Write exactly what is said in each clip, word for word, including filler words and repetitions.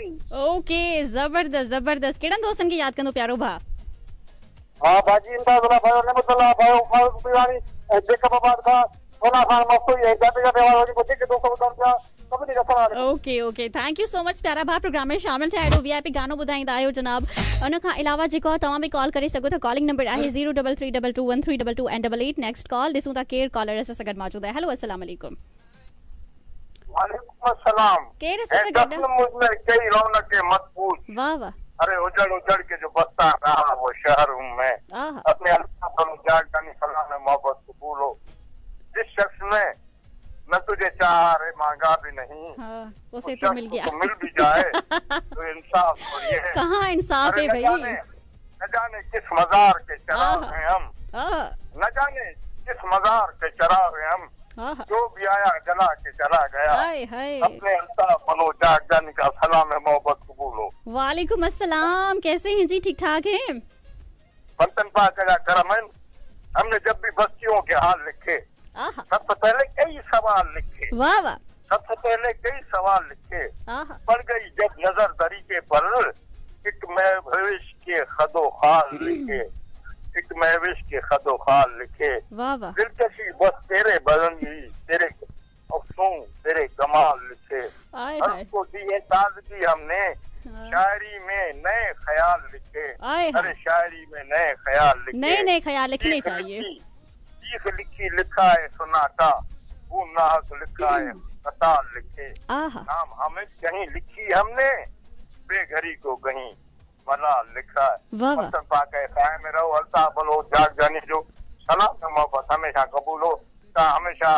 C. Okay ज़बरदस्त ज़बरदस्त। कहिड़नि दोस्तनि खे यादि कंदो प्यारो भाउ? हा भाजी इमदादुल्ला भाई नेमतुल्ला भाई फारूक पीरानी जेकब आबाद खां सोना खान मस्तूरी ऐं जाते जाते वारो जेके दोस्त ॿुधनि पिया सभिनी खे सलाम। Okay okay thank you so much प्यारा भाउ प्रोग्राम में शामिल थिया आहियो वीआईपी गानो ॿुधाईंदा आहियो जनाब। उन खां अलावा जेको आहे तव्हां बि कॉल करे सघो था। कॉलिंग नंबर आहे zero double three double two one three double two and double eight. Next call ॾिसूं था केरु कॉलर असां सां गॾु मौजूदु आहे। हेलो अस्सलाम वालेकुम। वालेकुम अस्सलाम। केरु असां सां गॾु? मुझ में कई रौनक मत पूछ। वाह वाह। अरे उजड़ उजड़ के जो बसता रहा वो शहर हूँ मैं। अपने अल्लाह सलाम मोहब्बत कबूल हो। जिस शख्स ने न तुझे चाहा रे मांगा भी नहीं, हाँ, उसे तो मिल गया। तो मिल भी जाए तो इंसाफ और ये है। कहाँ इंसाफ है भाई? न जाने किस मजार के चराग हैं हम, न जाने किस मजार के चराग हैं हम, जो भी आया जला के चला गया। हाय हाय। अपने अल्ताफ मनोज जानी का सलाम है मोहब्बत कबूल हो। वालेकुम अस्सलाम। कैसे हैं जी? ठीक ठाक हैं? बंतन पाक का करम है। हमने जब भी बस्तियों के हाल लिखे सबसे पहले कई सवाल लिखे। वाह वाह। सबसे पहले कई सवाल लिखे। पड़ गई जब नजर तरीके पर एक महविश के खदो खाल लिखे, एक महविश के खदो खाल लिखे। वाह वाह। दिलकशी बस तेरे बदन ही तेरे अफसूं तेरे कमाल लिखे। हमको दी है ताजगी हमने शायरी में नए ख्याल लिखे। अरे शायरी में नए ख्याल लिखे, नए नए ख्याल लिखने चाहिए। चीख लिखी लिखा है सुनाटा वो नाहक लिखा है कतार लिखे। नाम हमें कहीं लिखी हमने बेघरी को कहीं मलाल लिखा है। पाक साए में रहो अल्ताफ बलोच जाग जानी जो सलाम मोहब्बत हमेशा कबूल हो। हमेशा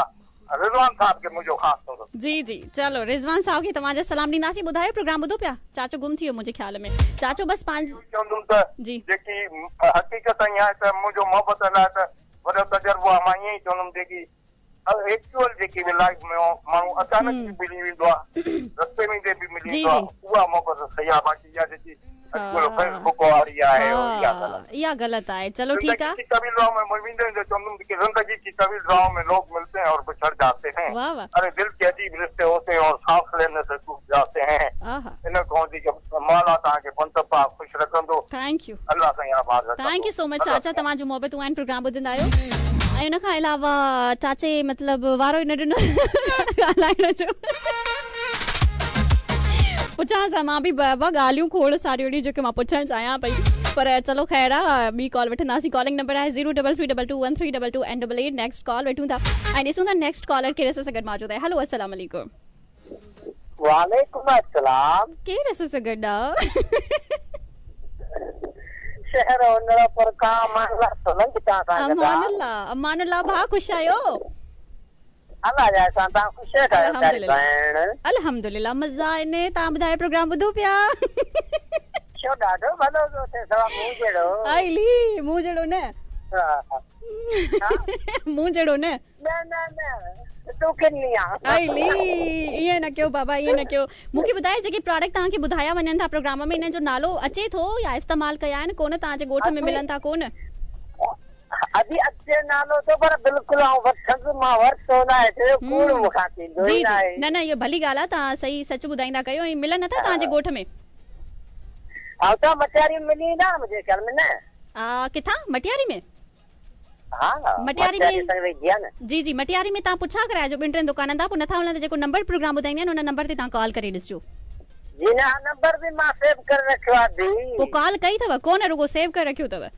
रिजवान साहब के मुंहिंजो ख़ासि तौर। जी जी चलो रिजवान साहब खे तव्हांजा सलाम ॾींदासीं। ॿुधायो प्रोग्राम ॿुधो पिया? चाचो गुम थी वियो मुंहिंजे ख़्याल में। चाचो बसि पंहिंजी चवंदुमि त जी जेकी हक़ीक़त ईअं आहे त मुंहिंजो मोहबत लाइ त वॾो तजुर्बो आहे। मां ईअं ई चवंदुमि जेकी एक्चुअल जेकी बि लाइफ में माण्हू अचानक बि मिली वेंदो आहे, रस्ते में बि मिली वेंदो आहे, उहा मोहबत सही आहे। बाक़ी इहा जेकी फेसबुक वारी आहे इहा ग़लति आहे। चलो ठीक है। तवील राव में जिंदगी की तवील राव में लोग मिलते हैं और बिछड़ जाते हैं। अरे दिल के अजीब रिश्ते होते हैं और सांस लेने से टूट जाते हैं। इन कौन सी माला तव्हांखे पंत पाक ख़ुशि रखंदो। Thank you. अलाह साईं आबाद रखंदो। Thank you so much चाचा, तव्हांजूं मोहबतूं आहिनि प्रोग्राम ॿुधंदा आहियो। ऐं उन खां अलावा चाचे मतिलबु वारो ई न ॾिनो ॻाल्हाइण जो। पुछां सां मां बि ॿ ॻाल्हियूं खोड़ सारियूं अहिड़ियूं जेके मां पुछणु चाहियां पई, पर चलो ख़ैर आहे। ॿी कॉल वठंदासीं। कॉलिंग नंबर आहे zero double three double two one three double two and double eight. Next call वठूं था ऐं ॾिसूं था नेक्स्ट कॉलर केरु असां सां गॾु मौजूदु आहे। हेलो अस्सलाम वालेकुम। वालेकुम अस्सलाम। केरु असां सां गॾु आहे? शहर पर खां अमानुल्लाह सोलंकी तव्हां सां गॾु। अमानुल्लाह अमानुल्लाह भाउ ख़ुशि आहियो? अलाह जा सां तव्हां ख़ुशि आहियो? अल्हम्दुलिल्लाह अल्हम्दुलिल्लाह मज़ा आहिनि। तव्हां ॿुधायो प्रोग्राम ॿुधो पिया? छो ॾाढो भलो पियो थिए, सवा मूं जहिड़ो। आइली मूं जहिड़ो न, मूं जहिड़ो न। न न न तूं किनी आहे। आइली ईअं न कयो बाबा, ईअं न कयो। मूंखे ॿुधायो जेके प्रोडक्ट तव्हांखे ॿुधाया वञनि था प्रोग्राम में, इन्हनि जो नालो अचे थो या इस्तेमालु कया आहिनि कोन? तव्हांजे ॻोठ में मिलनि था कोन? अभी अचे नालो तो पर बिल्कुल आउं वठंदुसि, मां वरितो न आहे, छो कूड़ मूंखां थींदो ई न आहे। न न इहो भली ॻाल्हि आहे, तव्हां सही सच ॿुधाईंदा कयो। ऐं मिलनि नथा तव्हांजे ॻोठ में? हा त मटियारी में मिली वेंदा मुंहिंजे ख़्याल में न। आ किथां? मटियारी में? हा मटियारी में। जी जी मटियारी में तव्हां पुछा कराइजो ॿिनि टिनि दुकाननि तां, पोइ नथा मिलनि त जेको नंबर प्रोग्राम ॿुधाईंदा आहिनि उन नंबर ते तव्हां कॉल करे ॾिसजो। जी न नंबर बि मां सेव करे रखियो आहे। पोइ कॉल कई अथव कोन? रुगो सेव करे रखियो अथव?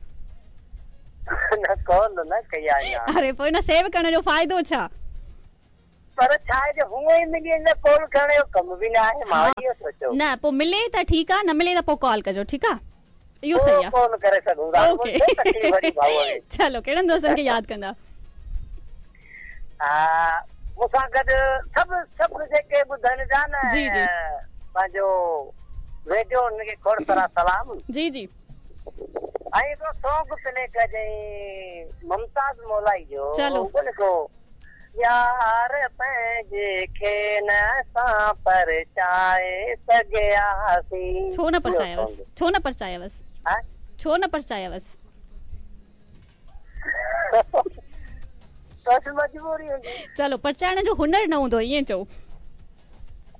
न कॉल न कई आहे। अरे पोइ न सेव करण जो फ़ाइदो छा? पर छा आहे जो हूअं ई मिली वेंदो, कॉल करण जो कमु बि न आहे। मां इहो सोचियो न पोइ मिले त ठीकु आहे, न मिले त पोइ कॉल कजो। ठीकु आहे, इहो सही आहे। कोन करे सघूं था। ओके चलो कहिड़नि दोस्तनि खे यादि कंदा? हा मूंसां गॾु सभु सभु जेके ॿुधनि था न जी जी पंहिंजो रेडियो, उनखे खोड़ सारा सलाम। जी जी। ऐं हिकिड़ो सॉन्ग प्ले कजांइ मुमताज़ मौलाई जो। चलो को यार पंहिंजे खे न असां परचाए सघियासीं। छो न परचायावसि? छो न परचायावसि? छो न परचायावसि? बसि मजबूरी हूंदी। चलो परचाइण जो हुनर न हूंदो, ईअं चओ।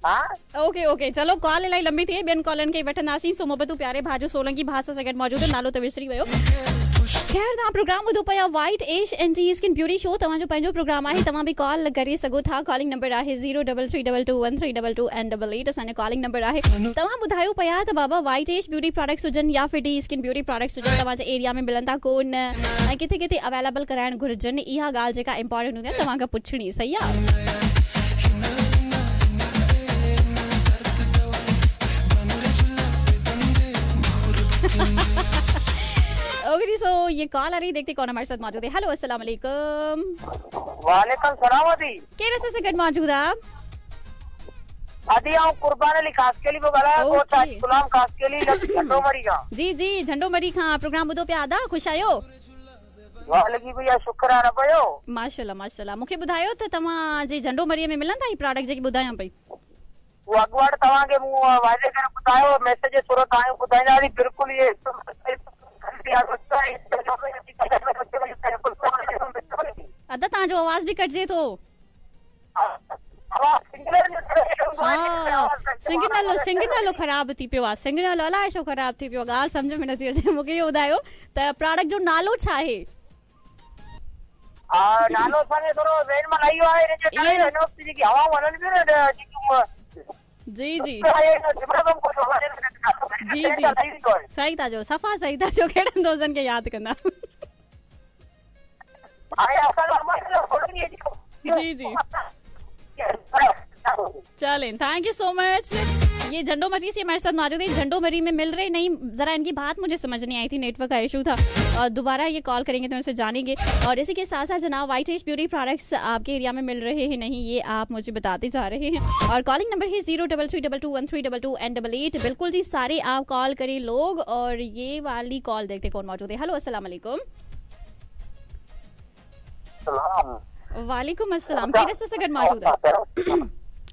हा ओके ओके चलो कॉल इलाही लंबी थी ॿियनि कॉलनि खे वठंदासीं। सो मोहबतूं प्यारे भाउ जो सोलंकी भाउ सां गॾु मौजूदु नालो त विसरी वियो। ख़ैर तव्हां प्रोग्राम ॿुधो पिया white ash anti skin beauty show तव्हांजो पंहिंजो प्रोग्राम आहे, तव्हां बि कॉल करे सघो था। कॉलिंग नंबर आहे zero double three double two one three double two and double eight असांजो कॉलिंग नंबर आहे। तव्हां ॿुधायो पिया त बाबा वाइट एश ब्यूटी प्रोडक्ट्स हुजनि या फिर डी स्किन ब्यूटी प्रोडक्ट्स हुजनि तव्हांजे एरिया में मिलनि था कोन ऐं किथे किथे अवेलेबल कराइणु घुर्जनि, इहा ॻाल्हि जेका इम्पोर्टेंट हूंदी आहे तव्हां खां पुछणी, सही आहे? ओके जी, सो ये कॉल आ रही, देखते कौन हमारे साथ मौजूद है। हेलो अस्सलाम वालेकुम। वालेकुम सलाम। अदी केरु असां सां गॾु मौजूद आहे? अदी आउं कुर्बान अली खासकेली पियो ॻाल्हायां, ॻोठ गुलाम खासकेली झंडो मरी खां। जी जी झंडो मरी खां प्रोग्राम ॿुधो पिया अदा, ख़ुशि आहियो? वाह लॻी पई आहे, शुक्र आहे रब जो। माशाल्लाह माशाल्लाह। मूंखे ॿुधायो त तव्हांजे झंडो मरीअ में मिलनि था ही प्रोडक्ट जेके ॿुधायां पई? उहो अॻुवाट तव्हांखे मूं वाइदे करे ॿुधायो, मैसेज सूरत आयो ॿुधाईंदासीं। बिल्कुलु इहे अदा तव्हांजो आवाज़ बि कटिजे थो। हा सिग्नल सिग्नल ख़राबु थी पियो आहे, सिग्नल अलाए छो ख़राबु थी पियो आहे, ॻाल्हि सम्झ में नथी अचे। मूंखे इहो ॿुधायो त प्रोडक्ट जो नालो छा आहे? नालो असांखे थोरो ज़हन मां न आयो आहे, हिन जे करे हिन वक़्तु जेकी हवाऊं हलनि पियूं न जेकियूं, जी जी जी जी सही था चओ, सफ़ा सही था चओ। कहिड़नि दोस्तनि खे यादि कंदा? जी जी चलें, thank you so much. ये झंडो मरी से हमारे साथ मौजूद है। झंडो मरी में मिल रहे नहीं, जरा इनकी बात मुझे समझ नहीं आई थी, नेटवर्क का इशू था। और दोबारा ये कॉल करेंगे तो उनसे जानेंगे। और इसी के साथ साथ जनाब वाइट एश ब्यूटी प्रोडक्ट्स आपके एरिया में मिल रहे हैं नहीं, ये आप मुझे बताते जा रहे हैं। और कॉलिंग नंबर है zero double three double two one three double two and double eight. बिल्कुल जी सारे आप कॉल करें लोग। और ये वाली कॉल देखते कौन मौजूद है। हेलो अस्सलाम वालेकुम। वालेकुम अस्सलाम। केरु से गॾु मौजूद है?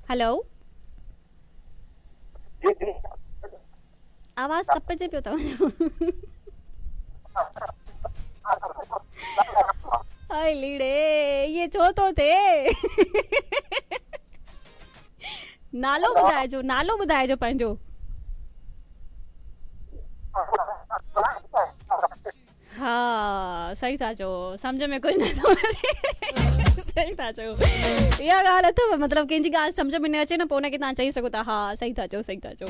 हेलो आवाज़ कपिजे पियो तव्हांजो। हाय लीड़े ये छो थो थिए? नालो ॿुधाइजो, नालो ॿुधाइजो पंहिंजो। हा सही था चओ, सम्झ में कुझु नथो अचे। सही था चओ, इहा ॻाल्हि अथव, मतिलबु कंहिंजी ॻाल्हि सम्झ में न अचे न पोइ हुनखे तव्हां चई सघो था हा सही था चओ, सही था चओ।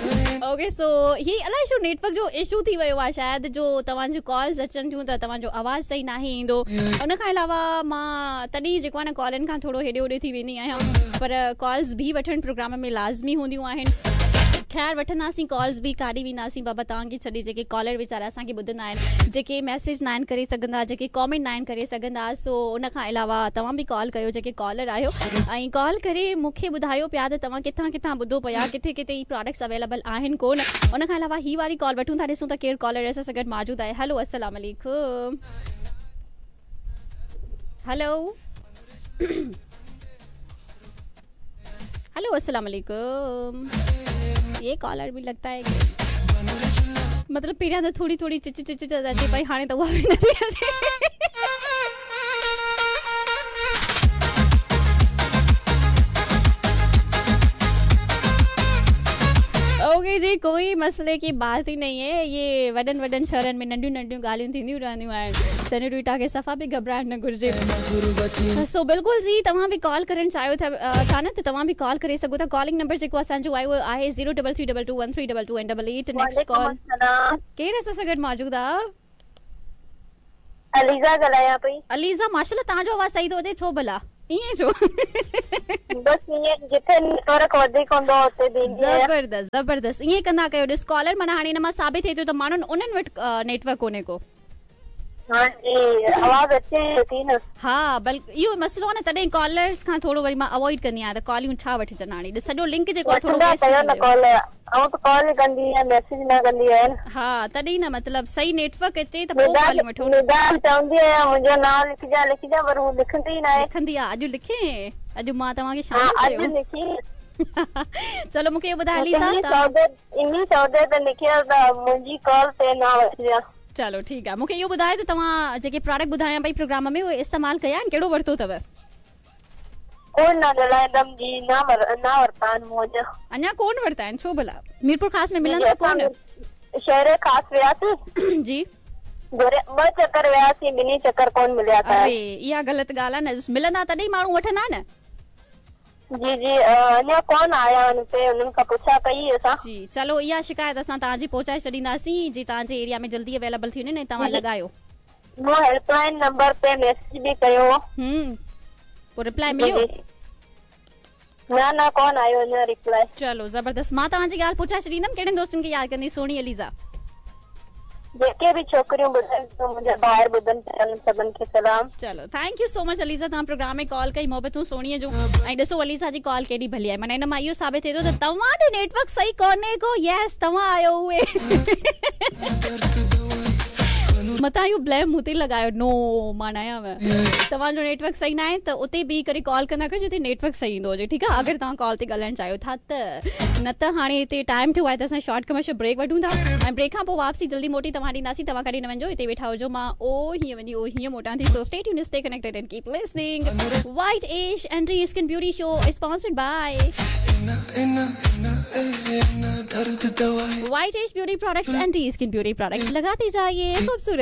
ओके सो ही अलाए छो नेटवर्क जो इशू थी वियो आहे शायदि, जो तव्हांजूं कॉल्स अचनि थियूं त तव्हांजो आवाज़ सही नाहे ईंदो। उन खां अलावा मां तॾहिं जेको आहे न कॉलनि खां थोरो हेॾे होॾे थी वेंदी आहियां, पर कॉल्स बि वठणु प्रोग्राम में लाज़मी हूंदियूं आहिनि। ख़ैर वठंदासीं कॉल्स बि, काॾे वेंदासीं बाबा तव्हांखे छॾे। जेके कॉलर वीचारा असांखे ॿुधंदा आहिनि, जेके मैसेज न आहिनि करे सघंदा, जेके कॉमेंट न आहिनि करे सघंदा, सो उन खां अलावा तव्हां बि कॉल कयो जेके कॉलर आहियो ऐं कॉल करे मूंखे ॿुधायो पिया त तव्हां किथां किथां ॿुधो पिया, किथे किथे ही प्रोडक्ट्स अवेलेबल आहिनि कोन। उन खां अलावा ही वारी कॉल वठूं था, ॾिसूं त केरु कॉलर असां सां गॾु मौजूदु आहे। हेलो अस्सलाम वालेकुम। हेलो हेलो अस्सलाम वालेकुम। ये कॉलर भी लगता है कि मतलब पहिरियां त थोरी थोरी चिच चिच चिच अचे पई, हाणे त उहा बि नथी अचे। ओके जी, कोई मसले की बात ही नहीं है। ये वॾनि वॾनि शहरनि में नंढियूं नंढियूं ॻाल्हियूं थींदियूं रहंदियूं आहिनि, सेनोरिटा खे सफ़ा बि घबराइण न घुरिजे। सो बिल्कुलु जी तव्हां बि कॉल करणु चाहियो था था न त तव्हां बि कॉल करे सघो था। कॉलिंग नंबर जेको असांजो आयो आहे zero double three double two one three double two and double eight. Next call केरु असां सां गॾु मौजूदु आहे? अलीज़ा ॻाल्हायां पई। अलीज़ा माशाल्लाह तव्हांजो आवाज़ सही थो अचे, छो भला ईअं छो? बसि ईअं जिथे नेटवर्क वधीक हूंदो उते बीहंदी आहियां। ज़बरदस्त ज़बरदस्त, ईअं कंदा कयो। ॾिस कॉलर माना हाणे हिन मां साबित थिए थो त माण्हुनि उन्हनि वटि नेटवर्क कोन्हे को। हाँ जी आवाज़ अचे थी न। हा बल्कि इहो मसइलो आहे न, तॾहिं कॉलर्स खां थोरो वरी मां अवॉइड कंदी आहियां त कॉलियूं छा वठिजनि। हाणे सॼो लिंक जेको आहे थोरो वेस्ट कयो न कॉल, आउं त कॉल कंदी आहियां, मैसेज न कंदी आहियां। हा तॾहिं न मतलब सही नेटवर्क अचे त पोइ कॉल वठो। निदा चवंदी आहियां मुंहिंजो नाम लिखिजां लिखिजां, पर हू लिखंदी ई न आहे। लिखंदी आहे, अॼु लिखे, अॼु मां तव्हांखे शामिल कयो। अॼु लिखी। चलो मूंखे इहो ॿुधायो अलीज़ा, इन्ही सौदे ते लिखियो त मुंहिंजी कॉल ते न वठिजां। चलो ठीकु आहे, मूंखे इहो ॿुधायो त तव्हां जेके प्रोडक्ट ॿुधायां पई प्रोग्राम में उहे इस्तेमालु कया आहिनि, कहिड़ो वरितो अथव? कोन न ॻाल्हाईंदमि जी, न वर न वरिता आहिनि मूं अञा। अञा कोन वरिता आहिनि? छो भला? मीरपुर ख़ास में मिलंदा कोन? शहर ख़ास वियासीं जी, ॿ चकर वियासीं, ॿिन्ही चकर कोन मिलिया। अरे इहा ग़लति ॻाल्हि आहे न, मिलंदा तॾहिं माण्हू वठंदा न। जी जी, अञा कोन आया आहिनि हुते, उन्हनि खां पुछा कई असां। जी चलो, इहा शिकायत असां तव्हांजी पहुचाए छॾींदासीं जी तव्हांजे एरिया में जल्दी अवेलेबल थी वञे न, तव्हां लॻायो। मूं हेल्पलाइन नंबर ते मैसेज बि कयो। हम्म, पोइ रिप्लाई मिलियो? न न, कोन आयो अञा रिप्लाई। चलो ज़बरदस्त, मां तव्हांजी ॻाल्हि पहुचाए छॾींदमि। कहिड़नि दोस्तनि खे यादि कंदी सोणी अलीज़ा? जेके बि छोकिरियूं ॿुधनि थियूं, मुंहिंजा ॿाहिरि ॿुधनि पिया, उन्हनि सभिनि खे सलाम। चलो thank you so much Aliza, तव्हां प्रोग्राम में कॉल कई, मोहबतूं सोणीअ जूं। ऐं ॾिसो अलीज़ा जी कॉल केॾी भली आहे, माना हिन मां इहो साबित थिए थो त तव्हां ॾे नेटवर्क सही कोन्हे को। यस, तव्हां आहियो उहे, मथां इहो ब्लेम मूं ते लॻायो। नो, मां न आहियां। तव्हांजो नेटवर्क सही न आहे त उते बीह करे कॉल कंदा कयो जिते नेटवर्क सही ईंदो हुजे, ठीकु आहे? अगरि तव्हां कॉल ते ॻाल्हाइणु चाहियो था त, न त हाणे हिते टाइम थियो आहे त असां शॉर्ट कमर्शियल ब्रेक वठूं था ऐं ब्रेक खां पोइ वापसी जल्दी मोटी तव्हां ॾींदासीं। तव्हां कॾहिं न वञिजो, हिते वेठा हुजो, मां ओ हीअं वञी ओ हीअं मोटां थी। So stay tuned, stay connected and keep listening. White Ash anti skin beauty show sponsored by White Ash beauty products, anti skin beauty products। लगाते जाइए खूबसूरत।